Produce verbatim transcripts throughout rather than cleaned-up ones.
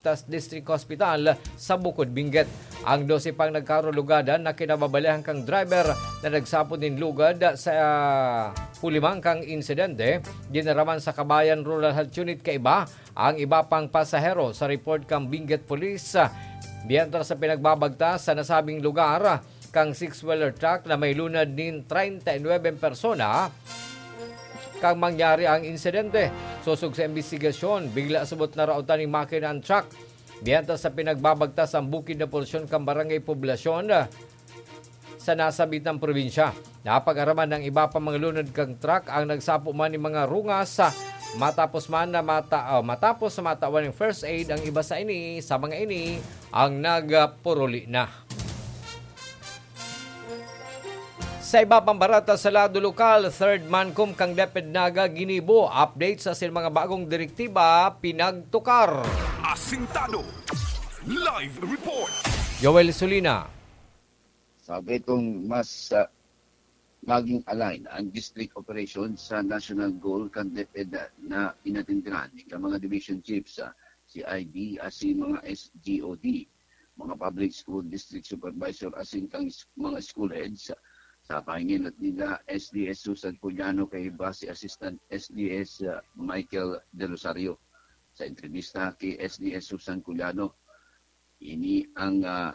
Tas District Hospital sa Bukod Benguet. Ang dose pang nagkarulugadan na kinababalehan kan driver na nagsapod nin lugad sa, ah, hulimang kan insidente, dinaraman sa Kabayan Rural Health Unit kaiba ang iba pang pasahero. Sa report kan Benguet Police, mientras sa pinagbabagtas sa nasabing lugar, kan six-wheeler truck na may lunad nin treinta y nuebe persona, kan mangyari ang insidente. Sosog sa imbestigasyon, bigla subot naraotan nin makina ang truck. Mientras sa pinagbabagtas ang bukid na porsyon kan Barangay Poblacion sa nasabitang probinsya. Napag-araman ng iba pa mga lunad kang truck ang nagsapo man nin mga rungas, matapos man na mata-, oh, matapos na matawan ng first aid ang iba sa ini, sa mga ini ang nagpuruli na. Sa iba pang barata sa lado lokal, Third Mancom kan DepEd Naga ginibo, update sa sin mga bagong direktiba pinagtukar. Asintado. Live report. Joel Sulina. Sabi itong mas, ah, maging align ang district operation sa national goal kan DepEd na pinatindihan ika mga division chiefs, ah, C I D, asin mga S G O D, mga public school district supervisor, asin kang s-, mga school heads, ah, sa pahinginot nila S D S Susan Puliano kay Base Assistant S D S, ah, Michael De Rosario. Sa entrevista kay S D S Susan Culiano, ini ang, ah,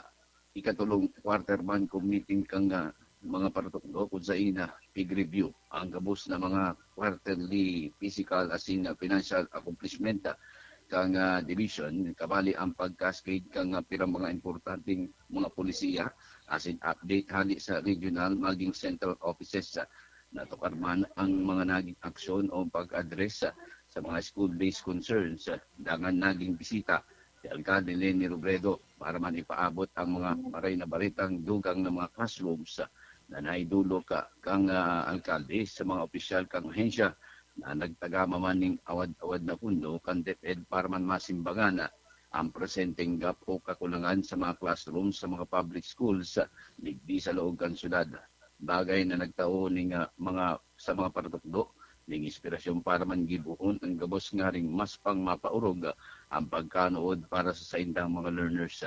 ikatulong quarter man kung meeting kang, ah, mga paratukdo kun saen na pig-review ang gabos na mga quarterly physical asin, ah, financial accomplishment, ah, kang, ah, division, kabali ang pag-cascade kang, ah, pirang mga importanteng mga polisiya asin update hali sa regional maging central offices, ah, natukar man ang mga naging aksyon o pag-address, ah, sa mga school-based concerns, ah, dangan naging bisita si Alkalde Leni Robredo para man ipaabot ang mga maray na baretang dugang na mga classrooms, ah, na naidolok, ah, kang, ah, alkalde sa mga opisyal kang ahensya na nagtagama man ning awad-awad na pundo kan DepEd para man masimbangan, ah, ang presenteng gap o kakulangan sa mga classrooms sa mga public schools, ah, digdi sa laog kan syudad. Bagay na nagtao ning, ah, mga, sa mga paratukdo ning inspirasyon para man gibohon ang gabos ngaring mas pang mapaorog, ah, ang pagkanuod para sa saindang mga learners.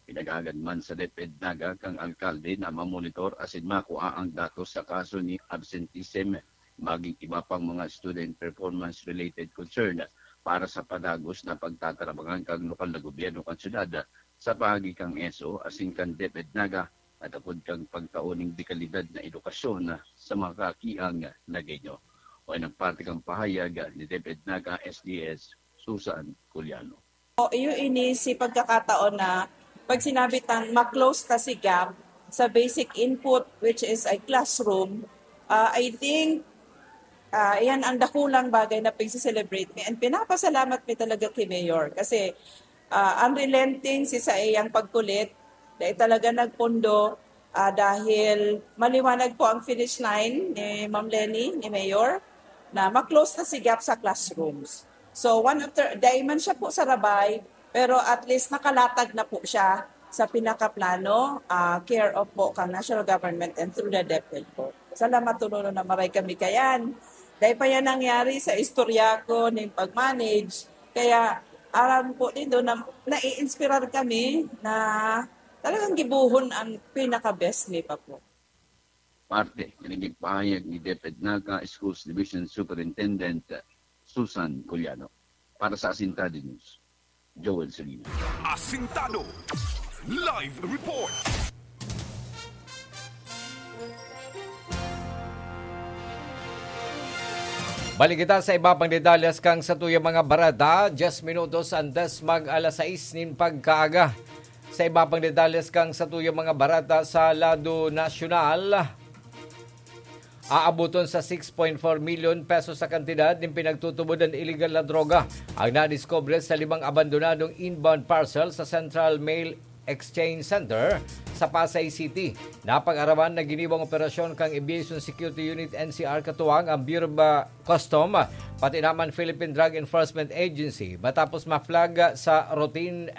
Pinagagad man sa DepEd Naga kang alkalde na mamonitor asin makua ang datos sa kaso ni absenteeism, maging iba pang mga student performance-related concern para sa padagos na pagtatarabangan kang lokal na gobyerno kan syudad sa paagi kang S O asin kan DepEd Naga at apod kang pagtao ning dekalidad na edukasyon sa mga kakiang Nagueño. O nagparte kang pahayag ni DepEd Naga S D S Susan Culiano. O, iyo ini si pagkakataon na pag sinabi tang ma-close ta si gap sa basic input, which is a classroom, ah, I think, ah, iyan ang dakulang bagay na pagse-celebrate mi. And pinapasalamat mi talaga kay Mayor kasi, ah, unrelenting si sa iyang pagkulit, dahil talaga nagpundo, ah, dahil maliwanag po ang finish line ni Ma'am Leni, ni Mayor, na ma-close na si gap sa classrooms. So, one after, dai man siya po sarabay, pero at least nakalatag na po siya sa pinakaplano, ah, care of po kang national government and through the DepEd po. Salamat, Tununo, na maray kami kayan. Dai pa yan nangyari sa istorya ko ning pag-manage. Kaya, aram po nindo na nai-inspirar kami na talagang gibohon ang pinaka-best ni Papo. Parte, yan ang ipahayag ni DepEd Naga Schools Division Superintendent Susan Culiano. Para sa Asintado News, Joel Solino. Asintado. Live report. Balik kita sa iba pang detalles kang satuyang mga barata, diyes minutos antes mag alas sais nin pagkaaga. Sa iba pang detalles kang satuyang mga barata sa lado nasyonal, aaboton sa six point four milyon pesos sa kantidad nin pinagtutubod na illegal na droga ang nadiskubre sa limang abandonadong inbound parcel sa Central Mail Exchange Center sa Pasay City. Napag-araman na ginibong operasyon kang Aviation Security Unit N C R katuwang ang Bureau of Custom, pati naman Philippine Drug Enforcement Agency, matapos ma-flag sa routine